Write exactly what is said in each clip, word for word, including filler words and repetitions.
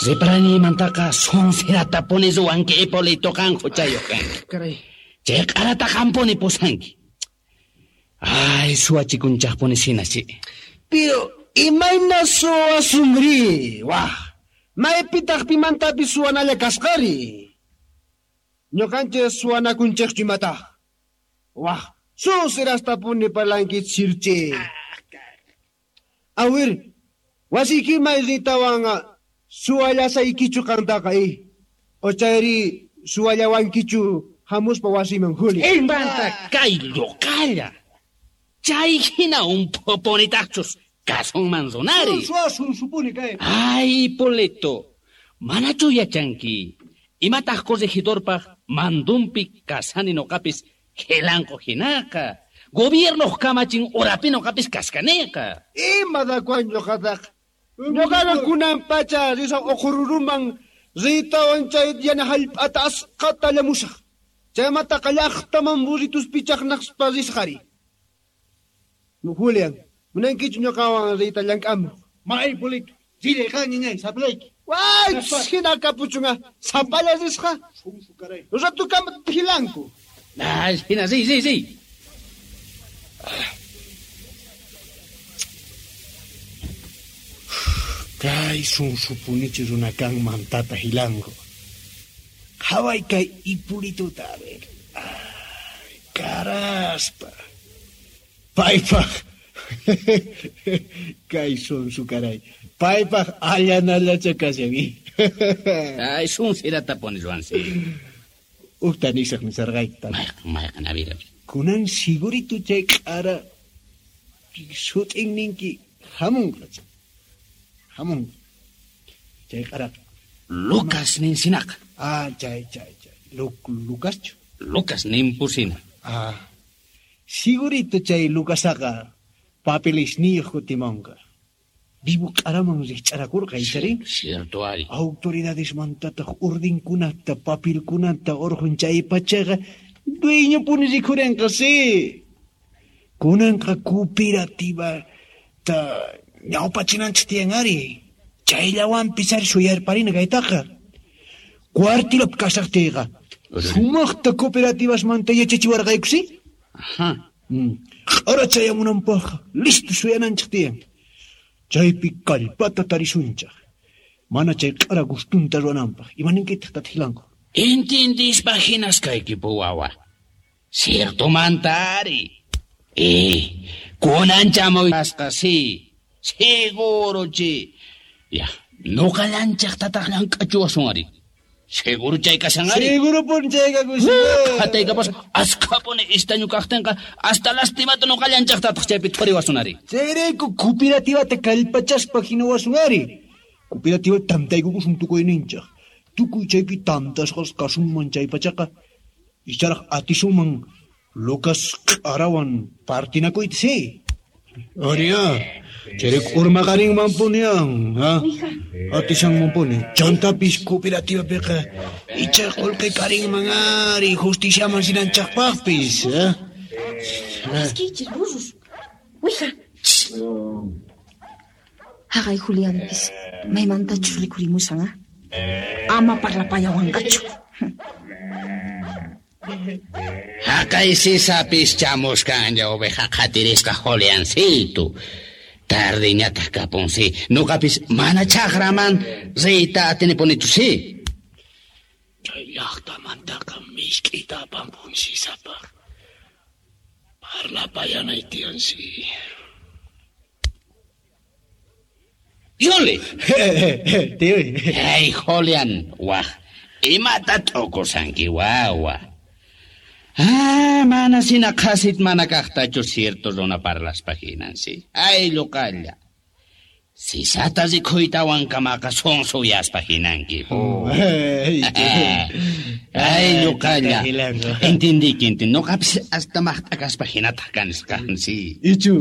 Reparanimantaqa sonserata puni ruwanki Hipolito qan huchayuq kanki. Caray. Chay q'arata qampuni pusanki. Ay, suwachikunchaqpuni sinachi. Pero imayna suwasunri? Wah, maypitaq pimantapis suwanalla kasqari? Ñuqanchik suwanakunchikchu imataq? Wah, suserastapuni parlanki chirchi. Awir, wasiykiman riytawan suwallasaykichu qantaqa eh. Ochayri suwallawankichu hamuspa wasiman Juli. Imanta kay lluqalla. Chay hina umpupunitaqchus kasunman runari. Suwasun supuni kay. Ay, Hipolito, manachu yachanki. Imataq corregidorpaq mandunpi kasani nuqapis hilanqu hinaqa. Gobiernoq kamachin urapi nuqapis kaskaniqa. Ima dakuan ñuqataq. Ñuqaqa kunan pacha risaq uqururuman riytawan chay yana hallp'ata asqata llamusaq. Chaymataqa llaqtaman burritus pichaqnaqspa risqari. Julián, munankichu ñuqawan riyta llank'amuq? Ma, Hipolito, rillay qan ñañay, sapallayki. Way, hina kapuchunqa, sapalla risqa. Sunsu caray. Ratukama hilanku. Ay, hina, riy, riy, riy. Kay sunsupunichi runa kanman tata hilanku. Qhaway kay Hipolitota, a ver. Ay, caraspa. Paypaq. Kay sunsu caray. Paypaq allanallacha kashan. Ay, sunsiratapuni ruwansi. Uqta nisaq nisarqayki tata. Mayqan, mayqan, a ver, a ver. Kunan sigurito chay q'ara sut'in ninki hamunqa. Hamunqa. Chay q'araqa. Lucas ninsinaqa. Ah, chay, chay, chay. Lucaschu? Lucas ninpusina. Ah. Sigurito chay Lucasaqa papelisniyuq kutimunqa. Vivo q'araman rikch'arakurqa, ichari? Cierto ari. Autoridadesmantataq ordinkunata, papelkunata urqun chay pachaqa dueñopuni rikhurinqa, sí. Kunanqa cooperativata ñawpachinanchik tiyan ari. Chayllawanpis ari suyarparina kaytaqa. Cuartilapi kasaqtiyqa sumaqta cooperativasmanta yachachiwarqayku, sí? Ajá. Q'ara chayamunanpaqqa listo suyananchik tiyan. Chaypi kallpata tarisunchaq. Mana chay q'ara gustunta ruwananpaq. Imaninkitaq tata Hilanku? Entendispa hinas kaykipu wawa. Ciertomanta ari. Eh, kunan chamuyasqa, sí. Seguro chi. Ya, nuqallanchaq tataq llank'achiwasun ari. Seguro chay kashan ari. Seguro pun chay kakushan. Qhataykapas askhapuni istañu kaqtinqa hasta lastimata nuqallanchaq tataq chaypi thuriwasun ari. Chayrayku cooperativata kallpachaspa hinawasun ari. Cooperativa tantaykukusun tukuyninchaq. Tukuy chaypi tantasqas kasunman chay pachaqa. Icharaq atisunman Lucas q'arawan partinakuyta, sí. Aria, chayrayku urmaqarinmanpunian, ha? Atishanmanpuni. Chantapis cooperativapiqa icha qullqi karinman ari justiciaman rinanchaqpaqpis, ha? Askichis burros. Wija. Haqay Julianpis maymantachus rikhurimushan, ha? Ama parlapayawanqachu. Haqay sisapis chamuskanlla oveja qhatirisqa Juliancito. Tardiñataq kapunsi. Nuqapis mana chaqraman riyta atinipunichu, sí. Chay llaqtamantaqa misk'ita apampun sisapaq. Parlapayanay tiyan, sí. Yuli. Tío. Ay, Julián, waj. Imata t'ukusanki, wawa. Ah, mana sina qhasit mana kaqtachu cierto runa parlaspa hinan, sí. Ay, lluqalla. Sisata rikhuytawan kamaqa sunsuyaspa hinanki. Ay, lluqalla. Entendiki, entendí. Nuqapis hasta maqt'akaspa hinataq kanisqa, sí. Ichu.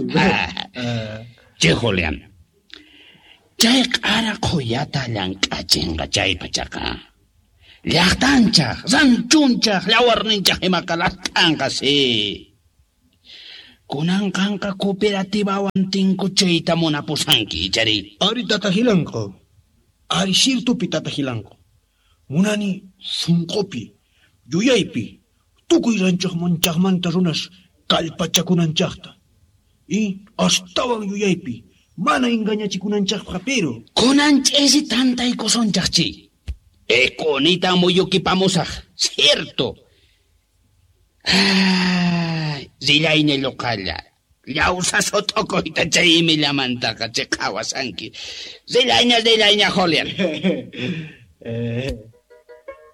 Che, Julián. Chay q'ara qhuyata llank'achinqa chay pachaqa. Llaqtanchaq, ranchunchaq, llawarninchaq imaqa lat'anqa, sí. Kunan qanqa cooperativawan tinkuchiyta munapusanki, ichari? Ari tata Hilanku. Ari sirtupi tata Gilanku. Munani sunqupi, yuyaypi, tukuy ranchoqmanchaqmanta runas kallpachakunanchaqta. Y astawan yuyaypi, mana engañachikunanchaqqa pero. Kunan ch'isi tantaykusunchaqchi. Ekunita muyukipamusaq, cierto. Ay, rillayña lluqalla. Llawsa sot'okoyta chay imillamantaqa chiqawasanki. Rillayña, rillayña, Julián. Eh.